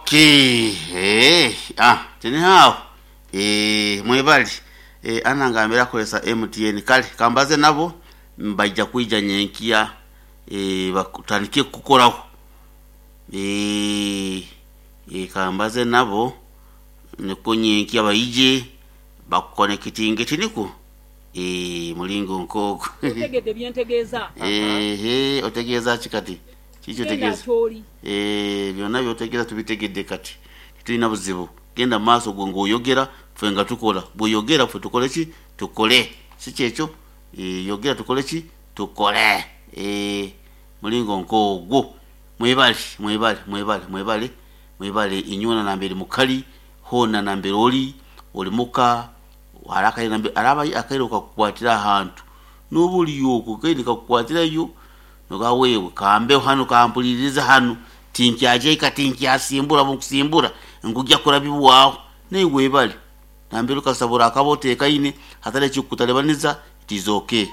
Okay, tinihaho mwebali anangambira akozesa MTN. Kale kambaze nabo mbaija kwija nyenkya batandike kukukoraho. Kambaze nabo nikwo nyenkya baije bakukonekitinge, tinikwo? Mulingo nk'ogwo. Otegedde bye ntegeeza? Ehe, otegeeza ki kati? Kiki Genda kyotegeeza? ky'oli. Byona byotegeeza tubitegedde kati. Titulina buzibu. Genda mu maaso gwe ng'oyogera ffe nga tukola. Bw'oyogera ffe tukole ki? Tukole. Si kyekyo? Yogera tukole ki? Tukole. Mulingo nk'ogwo. Mwebale, mwebale, mwebale, mwebale, mwebale inywena nambere mukali, hoona nambere ori, ori muka, hariho akaire nambere hariho akaire kakukwatira ahantu. N'oba ori okwo kaine kakukwatirayo noga wewe kambeho hanu kampulirize hanu tinkyagya tinkyasimbura bunkusimbura nkujya kurabibwaho. Naiwe webale nambere okasabura akaba otekaine hatari ekikukutalibaniza it is okay.